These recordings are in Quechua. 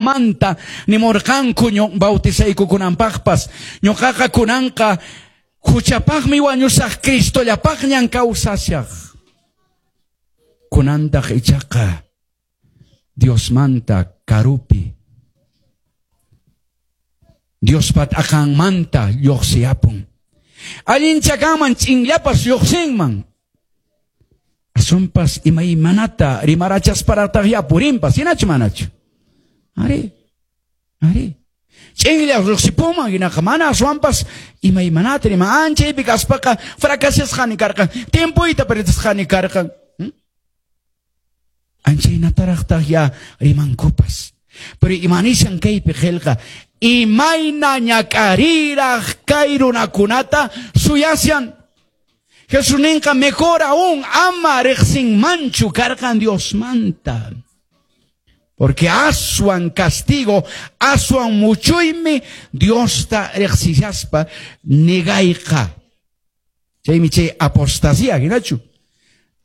Juanmanta nimurqanku bautizaykukunanpaqpas. Ñuqaqa kunanqa huchapaqmi wañusaq, Cristollapaqñan kawsashaq. Kunantaq ichaqa Diosmanta karupi, Diospa t'aqanmanta lluqsiyapun. Allinchakanman ch'inllapas lluqsinman. Asunpas imaymanata rimarachasparataq yapurinpas, hinachu manachu? Ari, ari. Ch'inlla lluqsipunman hinaqa mana aswanpas imaymanata rima. Anchaypi kaspaqa fracasasqani karqan, tiempoyta perdisqani karqan. Anchaynataraqtaq ya rimankupas. Pero imanishan kaypi qillqa, imayna ñak'ariraq kay runakunata suyashan. Jesús ninqa mejor aún ama riqsinmanchu karqan Diosmanta. Porque aswan castigo, aswan muchuymi Diosta riqsishaspa negayqa. Chaymi chay apostasía hinachu.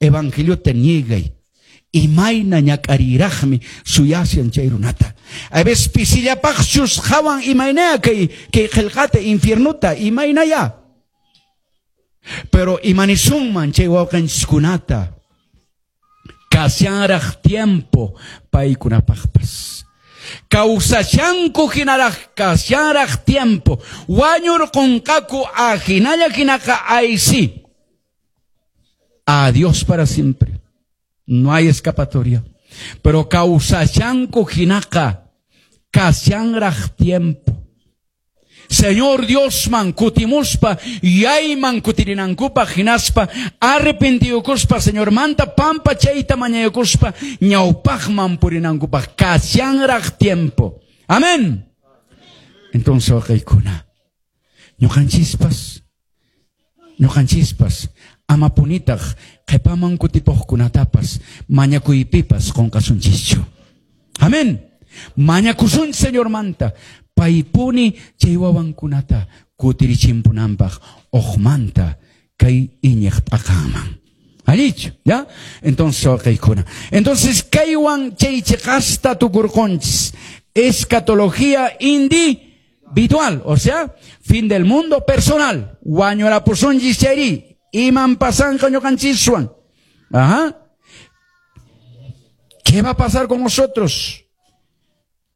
Evangeliota niegay. Imayna ñak'ariraqmi suyashan chay runata. A veces pisillapaqchus qhawan imaynaya kay qillqata infiernota imaynaya. Pero imanisunman chay wawqanchiskunata kashanraq tiempo paykunapaqpas. Kawsashanku hinaraq kashanraq tiempo. Wañurqunqaku ahinalla hinaqa aysi. Adiós para siempre. No hay escapatoria. Pero kawsashanku hinaqa kashanraq tiempo. Señor Diosman kutimuspa yayman kutirinankupaq hinaspa arrepentiyukuspa Señormanta pampa chayta mañayukuspa ñawpaqman purinankupaq kashanraq tiempo. Amén. Entonces waqaykuna ñuqanchispas amapunitaq qhipaman kutipuqkunatapas mañakuypipas qunqasunchischu. Amén. Mañakusunchis Señormanta paypuni chay wawankunata kutirichimpunanpaq uqmanta kay iñiq t'aqanman. Allichu, ¿ya? Entonces waqaykuna. Entonces kaywan chay chiqasta tukurqunchis. Escatología individual, o sea, fin del mundo personal. Wañurapusunchis chayri. Iman pasanqa ñuqanchiswan. Ajá. ¿Qué va a pasar con nosotros?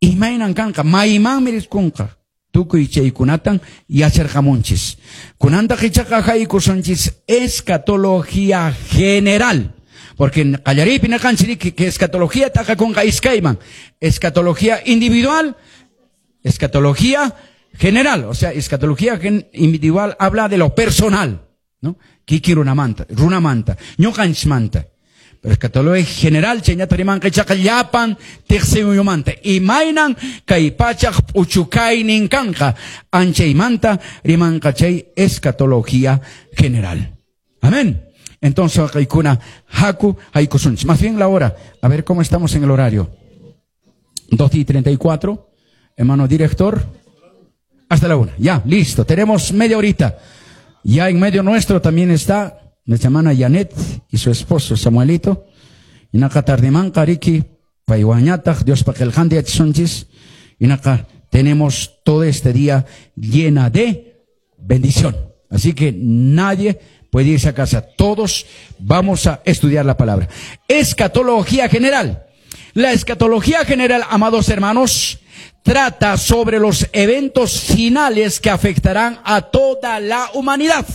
Imaynan kanqa, maymanmi riskunqa. Tukuy chaykunatan yacharqamunchis. Kunantaq ichaqa haykusunchis escatología general. Porque qallariypi nirqanchis que escatología t'aqakunqa iskayman. Escatología individual, escatología general. O sea, escatología individual habla de lo personal, ¿no? Kiki runamanta, runamanta, ñuqanchismanta. Pero escatología general chayñata rimanqa ichaqa llapan tiqsimuyumanta. Imaynan kay pachaq p'uchukaynin kanqa anchaymanta rimanqa chay escatología general. Amén. Entonces haykuna haku haykusunchis. Más bien la hora. A ver cómo estamos en el horario. 2:34. Hermano director. Hasta la 1. Ya, listo. Tenemos media horita. Ya en medio nuestro también está nuestra hermana Janet y su esposo Samuelito. Inaqa tardimanqa riki paywañataq Diospa qillqanta yachasunchis. Inaqa tenemos todo este día llena de bendición. Así que nadie puede irse a casa. Todos vamos a estudiar la palabra. Escatología general. La escatología general, amados hermanos, trata sobre los eventos finales que afectarán a toda la humanidad.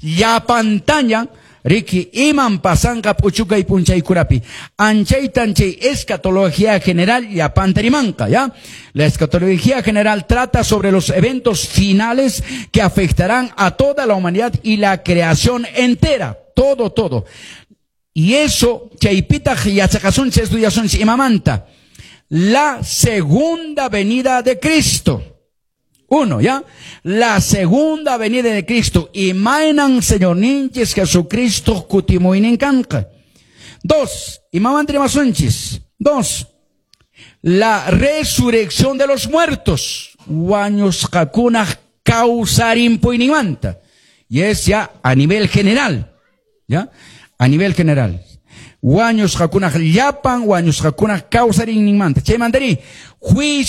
Ya pantalla, Riki, iman pasanqa p'uchukay p'unchaykurapi. Anchaytan chay escatología general ya pantarimanqa, ¿ya? La escatología general trata sobre los eventos finales que afectarán a toda la humanidad y la creación entera. Todo, todo. Y eso, chaypitaq yachaqasunchis estudiasunchis imamanta. La segunda venida de Cristo. Uno, ¿ya? La segunda venida de Cristo. Imaynan Señorninchis Jesucristo kutimuynin kanqa. Dos, imamanta rimasunchis. Dos, la resurrección de los muertos. Wañusqakunaq kawsarinpuyninmanta. Y es ya a nivel general, ¿ya? A nivel general. Wañusqakunaq llapan wañusqakunaq kawsarinninmanta. Chaymantari juicio